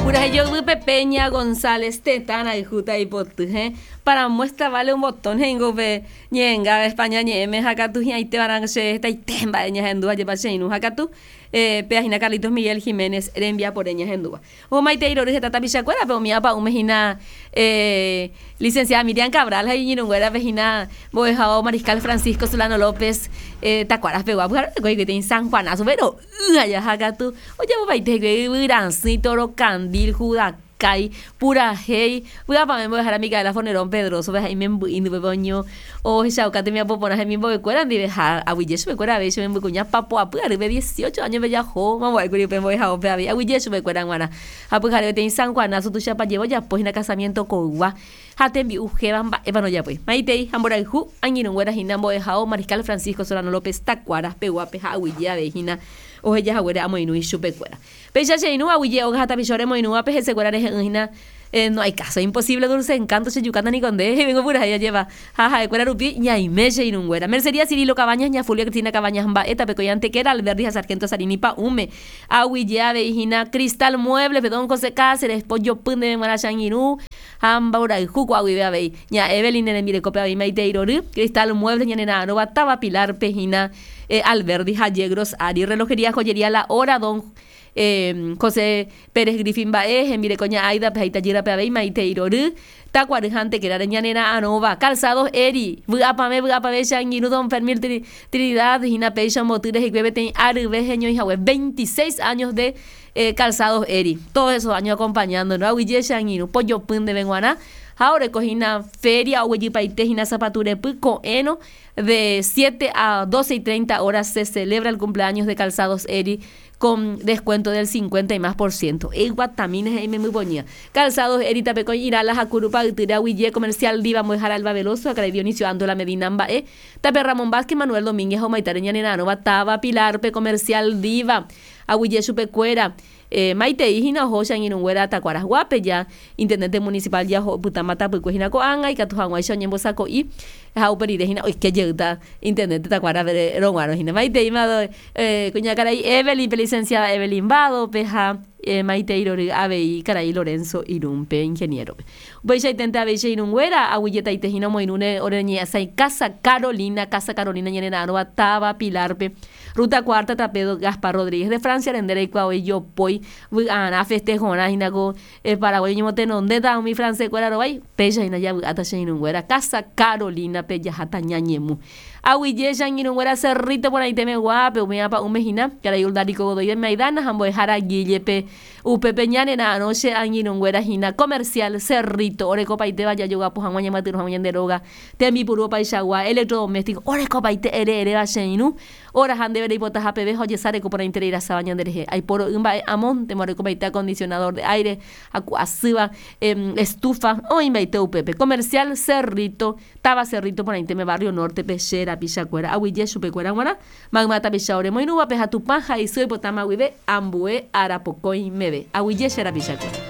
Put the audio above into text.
Purahéi joyvýpe Peña González tetã rayhúta ipoty he para muestra vale un botón he'ingo upe ñe'ẽnga España ñe'ẽme ha katu hi'ãite va'erã che hetaite mba'e ñahendu ajépa che irũ ha katu péa hína Carlitos Miguel Giménez rembiapore ñahendúva. Omomaitei rory heta tapichakuérape umi apa'ũme hína Licenciada Miriam Cabral ha iñirũnguérape hína mbo'ehao Mariscal Francisco Solano López Takuaras pegua pyharevekue hikuái peteĩ San Juanazo pe ro'y aja ha katu ojapopaite hikuái yvyrasẽ, toro kandil, judakái, purahéi, vy'apavẽ mbo'ehára Micaela Fonerón Pedrozo pe ha imemby'i ndýpe oño ohechauka tembiapo porã hemimbo'ekuéra ndive ha aguyje chupekuéra avei che membykuña papoapy arýpe dieciocho áño pejaho mambo'ékuri upe mbo'ehaópe avei aguyje chupekuéra g̃uarã ha pyhare peteĩ San Juanazo tuichapajevo ojapo hína casamiento koygua ha tembi'u héva mba'épa ndojapói. Maitei ha mborayhu angirũnguéra hína mbo'ehao Mariscal Francisco Solano López Takuara peguápe ha aguyje avei hína oheja haguére amoirũ ichupekuéra. Péicha che irũ aguyje óga ha tapicha oremoirũvape hesekuéra rehe'ỹ hína No hay caso, imposible dulce encanto che jukáta niko nde, he'ívengo purahéi ajéva. Ha ha'ekuéra rupi ñaime che irũnguéra. Mercería Cirilo Cabañas, ña Fulvia Cristina Cabañas mba'e, Tapekói Antequera, Alberdi ha Sargento Sarini pa'ũme. Aguyje avei hína Cristal Muebles-pe, Don José Cáceres, pojopy ndéve g̃uarã che angirũ ha mborayhu ko'a guive avei. Ña Evelyn ne rembirekópe avei maitei rory, Cristal Muebles ñanera'arõva táva Pilar-pe hína Alberdi ha Yegros ári. Relojería Joyería La Hora, Don José Pérez Griffin mba'e, hembireko ña Aida-pe ha itajýrape avei maitei rory, Takuary ha Antequera-re ñanera'arõva. Calzados Eri, vy'apavẽ vy'apavẽ che angirũ Don Fermín Trinidad hína péicha omboty rehekue peteĩ aryve heñoihague 26 años de Calzados Eri. Todos esos años acompañándonos. Aguyje che angirũ, pojopy ndéve g̃uarã ha oreko hína feria oguejypaite hína sapatu repy ko'ẽrõ de siete a doce y treinta horas se celebra el cumpleaños de Calzados Eri con descuento del cincuenta y más por ciento. Eguatamína he'i membypoñýa. Calzados Eri tapekõi Irala ha Kurupa ytýre aguije Comercial Diva Mbo'ehára Elba Veloso ha karai Dionisio Andola Medina mba'e. Tape Ramón Vázquez, Manuel Domínguez ha omaitare ñanera'arõva táva Pilar-pe Comercial Diva. Aguije chupekuéra. Maitei hína oho che angirũnguéra Takuarasguápe ja intendente municipal ja oho opytáma tapykue hína ko'ág̃a ikatu hag̃uáicha oñembosako'i ha upe rire hína oike jeýta intendente Takuara roguarõ hína. Maiteíma kuñakarai Evelyn pe licenciada Evelyn Vado-pe ha maitei rory avei karai Lorenzo Irún-pe, ingeniero-pe. Upeichaiténte avei che irũnguéra aguyjetaite hína omoirũre ore ñe'ẽsãi Casa Carolina, Casa Carolina ñanera'arõva táva Pilar-pe. Ruta cuarta tape Gaspar Rodríguez de Francia rende reikuaa oĩ jopói vy'arã festejorã hína ko Paraguái oñemotenondéta umi francés kuéra rovái, péicha hína javy'áta che irũnguéra Casa Carolina pe jaháta ñañemu. Aguyje che angirũnguéra Cerrito porãite meguápe umi apa'ũme hína karai Uldarico Godoy de Maidana ha mbo'ehára Guille pe Upépe ñanera'arõ che angirũnguéra hína comercial Cerrito orekopaitéva jajogapo hag̃ua ñamyatyrõ hag̃ua ñande róga Tembipuru opaichagua, electrodoméstico, orekopaite ere eréva che irũ, oraha ndéve reipotaha peve ha ojesareko porãiterei rasáva ñanderehe. Aiporo'y mba'e amóntema orekopaite acondicionador de aire, haku asýva, estufa, oĩmbaite upépe. Comercial Cerrito, táva Cerrito porãitéme barrio Norte-pe che rapichakuéra. Aguyje chupekuéra g̃uarã, mayma tapicha oremoirũvape ha Tupã ha isy oipotáma guive ambue arapokõi meve. Aguyje che rapichakuéra.